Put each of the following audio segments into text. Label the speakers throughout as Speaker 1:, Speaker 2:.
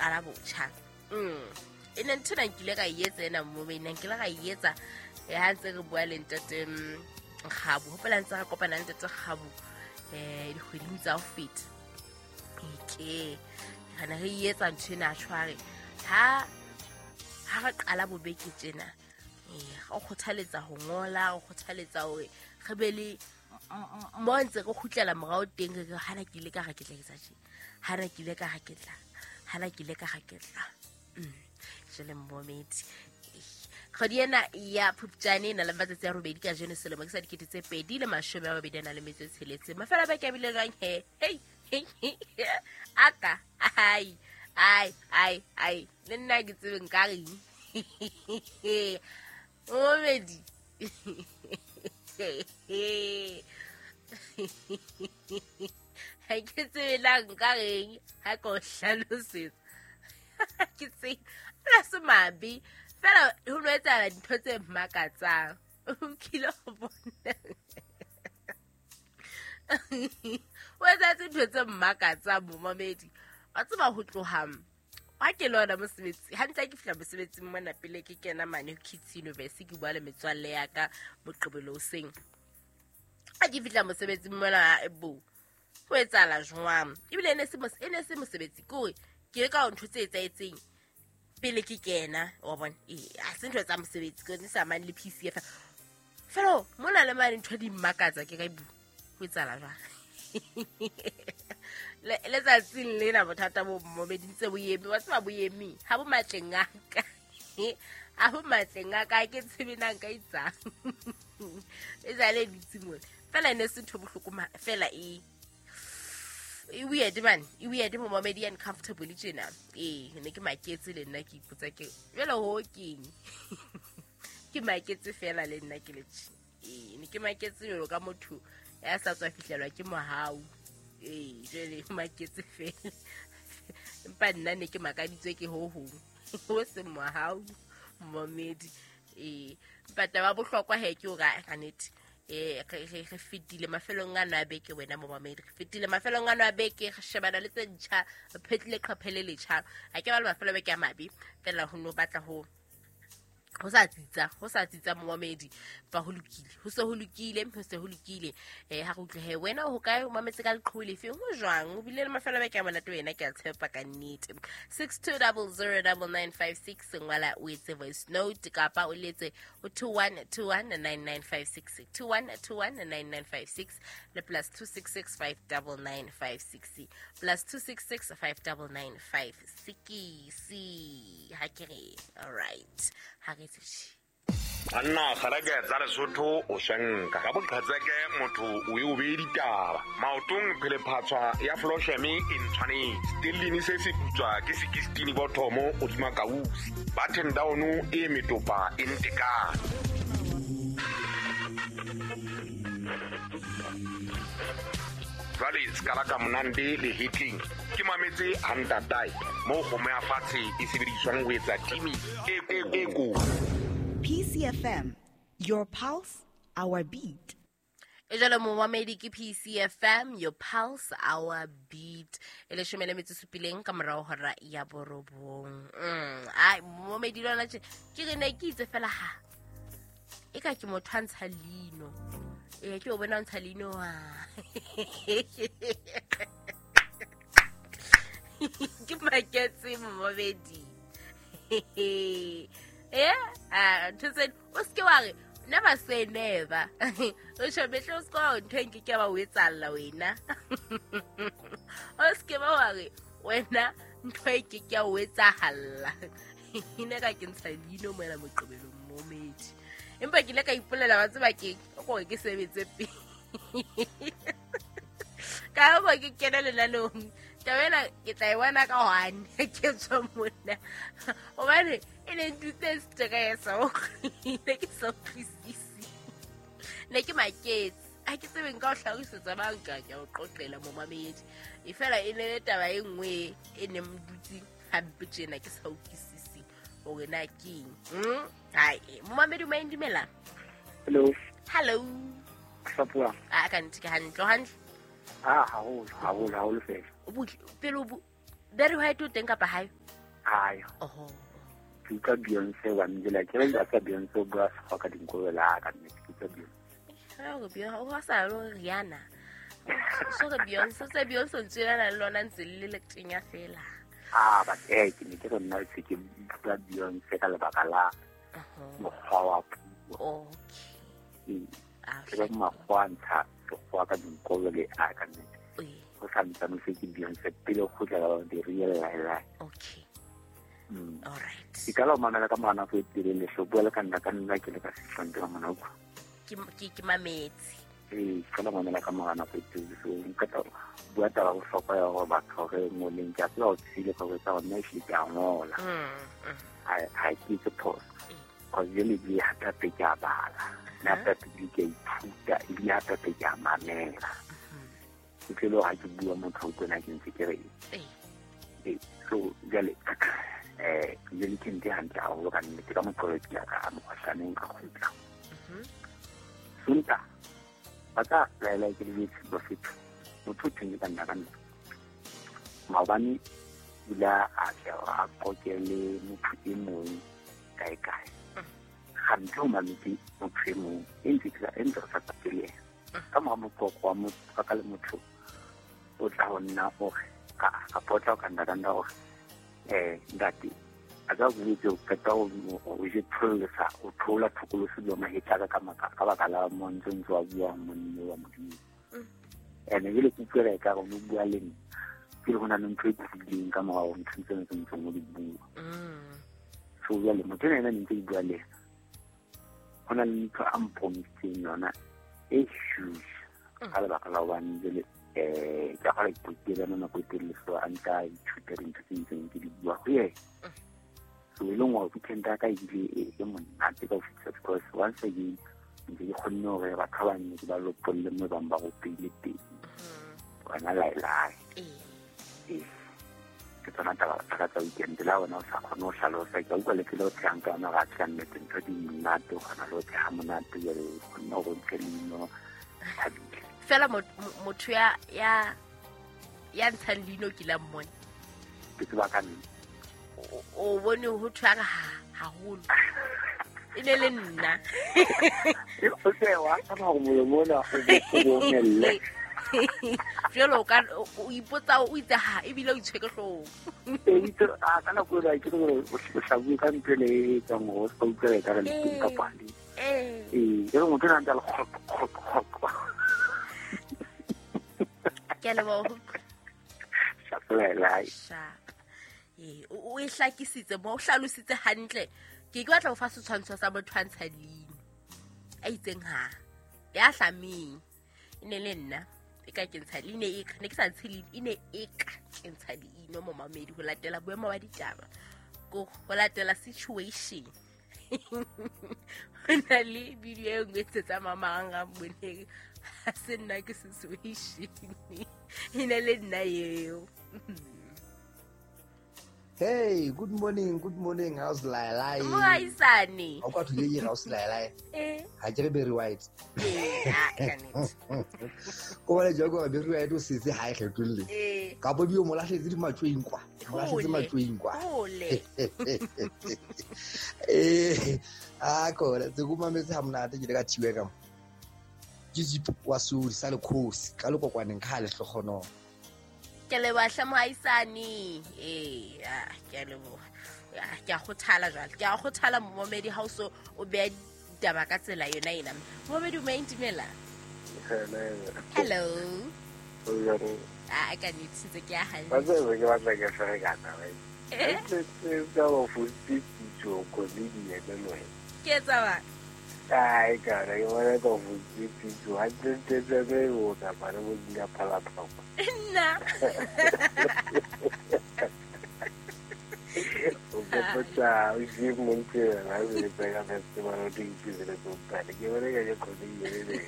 Speaker 1: qala botjha. E ne ntho ena nkile ka e etsa ena momedi, ne nkile ka e etsa ha ntse re bua le ntate Kgabo. Hopola ntse re kopana le ntate Kgabo dikgweding tsa ho feta. Ke re ne re etsa ntho ena tshware ha re qala bobeke tjena, re kgothaletsa ho ngola, re kgothaletsa hore re be le mo ntse re kgutlela morao teng, re re hana ke ile ka re ke tla etsa tje, hana ke ile ka re ke tla, hana ke ile ka re ke tla. Jwale momedi, kgwedi ena ya Phupjane e na le matsatsi a robedi ka jeno selemo ke sa 2026. Mafelo a beke a bile jwang he? Hei, aka ai ai ai ai, le nna ke tsebe nka reng. Momedi, ha ke tsebe na nka reng ha ke o hlalosetsa. Ke tsebe la se mabe fela ho no etsahala dintho tse makatsang. O kile ho bona o etsahetse ntho tse makatsang momamedi. Wa tseba ho tloha ha ke le hona mosebetsi hantle, ke fihla mosebetsing mona pele ke kena mane Kids University, ke bua le metswalle ya ka Moqebelo hoseng. Ha ke fihla mosebetsing mona, bo ho etsahala jwang? Ebile e ne se mosebetsi, ke hore ke le ka ntho tse etsahetseng pele ke kena, wa bona. Ha se ntho tsa mosebetsi, ke ne sa mane le PCF fela mona le mane ntho di mmakatsa. Ke ka bu ho etsahala jwang? Letsatsing lena bothata bo momedi ntse bo eme, wa tseba bo eme ha bo matleng a ka, ha bo matleng a ka, ke tsebe na nka etsang. E sale dutse mona fela, e ne se ntho bohloko fela, e weird man, e weird momamedi, uncomfortable tjena. Ne ke maketse le nna, ke ipotsa ke jwale ho keng. Ke maketse fela le nna ke le tje. Ne ke maketse jwalo ka motho ya sa tswa fihlelwa ke mohau. Jwale maketse fela, empa nna ne ke makaditswe ke ho hong ho seng mohau momamedi. Empa taba bohlokwa he ke hore ka nnete re fetile mafelong ano a beke, wena momamedi, re fetile mafelong ano a beke, re shebana le tse ntjha, re phetlile qhaphe le letjha. Ha ke ba le mafelo a beke a mabe fela, ho no batla ho sa tsitsa momamedi, ba ho lokile, ho se ho lokile, ho se ho lokile. Ha re utlwe he wena o hokae, o mametse ka leqhubu lefe, ho jwang, o bile le mafelo a beke a monate wena, ke a tshepa ka nnete. 62009956, ngwala o etse voice note kapa o letse o 21219956, 21219956 le +266 59956, +266 59956. Ha ke re all right, ha re tse.
Speaker 2: Anna kgareke tsa Lesotho o shenka ka boqhetseke motho o e o bee ditaba maotong phelephatshwa ya flosheme e ntshwanetse stellini se se putswa ke 16 bothomo hodima kausi button down e metopa e ntekane. Jwale skala ka monande le hitling ke mametse hantatae mo kgomo ya fatshe e sebediswang ho etsa timi e ko.
Speaker 3: PCFM, your pulse, our beat.
Speaker 1: E jalo momamedi ke PCFM, your pulse, our beat. E 17 ka morao hora ya 9. Ai momamedi lona tje ke re ne ke itse fela ha e ka ke motho a ntsha leino. Ke o bona ntsha leino wa. Ke maketse momamedi. Ntho tse o se ke wa re never say never. O shebe o se ka ntho e nke ke ba o etsalla wena. O se ke ba wa re wena ntho e ke ke o etsahalla. Ine ka ke ntsha leino moela Moqebelong momedi. Empa ke ile ka ipolela wa tseba ke gore ke sebetse pele. Ka ba ke kena lenaneong. Taba ena ke tla e bona ka hwane ke tswa mona. Hobane e ne ntutse stress, ne ke sa utlwisisi. Ne ke maketse. Ha ke tsebe nka o hlalosetsa bang ka ke o qoqela momamedi. E fela e ne le taba e nngwe e ne mdutse hampe tjena ke sa utlwisisi hore na keng. Hai, momamedi o maindumela.
Speaker 4: Hello.
Speaker 1: Hello.
Speaker 4: Sapua.
Speaker 1: A ka ntse ke hantle hantle.
Speaker 4: Ah, haholo, haholo, haholo fela.
Speaker 1: Pele o Barry White o teng kapa hae?
Speaker 4: Ai.
Speaker 1: Oho.
Speaker 4: Ke utlwa Beyonce wa njela ke re ka Beyonce o bua sekgowa ka dinkobela ka nnete ke utlwa Beyonce.
Speaker 1: Ha o Beyonce o sa lo Rihanna. So re Beyonce se Beyonce ntse na le lona ntse le le tenya fela.
Speaker 4: Ah, but ke ne ke re nna se ke utlwa Beyonce ka lebaka la mokgwa wa puo.
Speaker 1: Okay.
Speaker 4: Ke re makgowa a ntsha sekgowa ka dinkobele a ka nnete. Go sa ntsane se ke Beyonce pele go kgutlela ba di real lie.
Speaker 1: Okay. All right.
Speaker 4: Ke ka la mamela ka mora nako e telele so bua le ka nna ke le ka sehlong ke mona utlwa.
Speaker 1: Ke mametse.
Speaker 4: Ee, ke la mamela ka mora nako e telele so nka tla bua taba bohlokwa ya hore batho re ngoleng ke a tseba o tsile ka etsa hore nna ehlile ke a ngola. Ha ke etse phoso. Cause jwale ebile hape ke a bala. Nna hape ebile ke a ithuta ebile hape ke a mamela. Ke tlelo ha ke bua motho o utlwe na ke ntse ke re ee. So jwale jwale ke ntse hantle haholo ka nnete ka moqolo ke ya ka mokgohlaneng ka kgutla. Sontaha ba tla laela ke le bofetho motho o thweng ke ka nna ka nna. Maobane o ile a tla a qoke le motho e mong kae kae. Gantsi o mametse motho e mong e ntse e ntse re sa qoqe le yena. Ka mora moqoqo wa motho ka le motho o tla ho nna o re kapa o tla ho ka nna ka nna o re ntate a ka boletse o qeta o je tholesa o thola thokolosi le mahetla ka ka baka la montse ntse wa bua monne wa Modimo. Ene jwale ke utlwela ekare o no bua le nna ke le ho na le ntho e tlileng ka morao ntho tse ntseng o di bua. So jwale motho ena ne ntse ke bua le yena ho na le ntho a mpromisitseng yona e huge ka lebaka la hobane jwale ke a kgona ke ipela nako e telele so a nka ithuta dintho tse ntseng ke di bua ho yena. So e leng hore weekend ya ka ebile e monate ka ho fetisa because once again ntse ke kgonne hore batho ba bang ke ba lopolle moo bang ba ropeile teng. Wena laelae. Ee. Ke tsona taba tsa tsa weekend la wena o sa kgone ho hlalosa ke a utlwa le tsela o tshehang ka yona ga tjha nnete ntho di monate o kgona le ho tsheha monate jwale o kgonne hore o ntshe leino thabile.
Speaker 1: Fela motho ya ntshang leino ke la mmone.
Speaker 4: Ke tseba ka nna.
Speaker 1: O bone ho thwe a re haholo. E ne le nna.
Speaker 4: O se wa tshaba hore molomo ona o omelle.
Speaker 1: Jwale o ka o ipotsa o itse ha ebile o itshwere ke hlooho.
Speaker 4: Ee, a ka nako ena ke re o hlabuwe ka ntho ele e etsang hore o ska utlwela ekare le teng kapa ha le. Ee, e re motho ena ntse a le kgok kgok kgok.
Speaker 1: Ke a leboha ho utlwa.
Speaker 4: Sharp laelae.
Speaker 1: Sharp. Ee, o e hlakisitse mo o hlalositse hantle. Ke batla ho fa setshwantsho sa motho a ntshang leino. A itseng ha. Ya hlameng. E ne le nna. E ka ke ntsha leino e ka ne ke sa ntshe leino e ne e ka ke ntsha leino momamedi ho latela boemo ba ditaba. Ko ho latela situation. Ho na le video e nngwe e tsetsa mamarang boneng. Ha se nna ke situation. E ne le nna eo.
Speaker 5: Hey, good morning. How's Lailai?
Speaker 1: Moaisane.
Speaker 5: O ka thule how's Lailai?
Speaker 1: Eh.
Speaker 5: Ha ke re Berry White.
Speaker 1: Eh, ka nnete.
Speaker 5: Ko bale jogo gore Berry White o setse ha e kgetolle.
Speaker 1: Eh.
Speaker 5: Ka bo dio mo lahletse di matsweng kwa. Mo lahletse matsweng kwa.
Speaker 1: Hole.
Speaker 5: Eh, a ko le tse go mametse ha monate ke le ka thiwe ka mo. Ke zip wa suri sa le khosi ka le kokwaneng ka le hlogono.
Speaker 1: Ke leboha hle moaisane. Ee, ke a leboha. Ke a kgothala jwale. Ke a kgothala momamedi ha o so o beha ditaba ka tsela yona ena. Momamedi o maintimela. Hello. Ah, ka nnete ntse ke a hantle.
Speaker 4: Ba tsebe ke batla ke ferekana ba. Ke ka go fositse comedian le wena.
Speaker 1: Ke etsa ba?
Speaker 4: Ai ka re bona ka fositse ha tse tse tse o ka ba re bo di phala phala.
Speaker 1: Nna.
Speaker 4: O ka botsa o je montse ra le pega festival o di tsile go pale ke bona ka comedian le.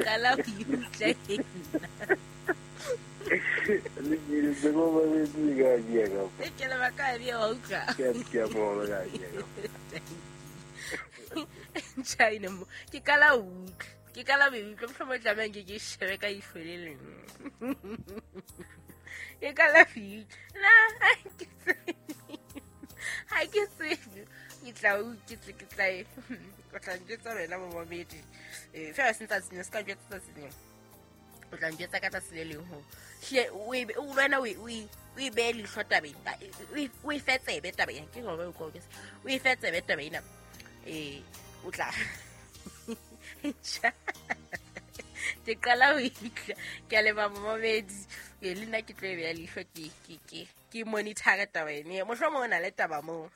Speaker 1: Qala ho utlwa
Speaker 4: Le ke go ba le di ga di ga.
Speaker 1: Ke le ba ka di wa utlwa.
Speaker 4: Ke a bona ga di ga.
Speaker 1: China mo ke kala utlwa. Ke kala be utlwa mohlomong tlamehang ke shebe ka ihlo le leng. Ke kala fi. Na ke tse. tla ke tla ke tla o tla njwetsa wena momamedi. Fela se ntsa senya se ka njwetsa tsatsi leng. O tla njwetsa ka tsatsi le leng ho hle o e o wena o e behe leihlo tabeng, o e fe tsebe taba ena. Ke hore o ko o e fe tsebe taba ena. O tla ke qala ho itla. Ke a leboha momamedi. Le nna ke tlo e beha leihlo ke monitor taba ena. Mohlomong o na le taba moo.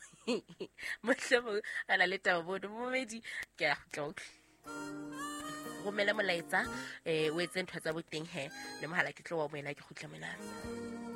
Speaker 1: Mohlomong a na le taba moo. Momamedi, ke a kgutla utlwe. Romela molaetsa, o etse ntho tsa boteng he. Le mohala ke tlo wa moena ke kgutla mona.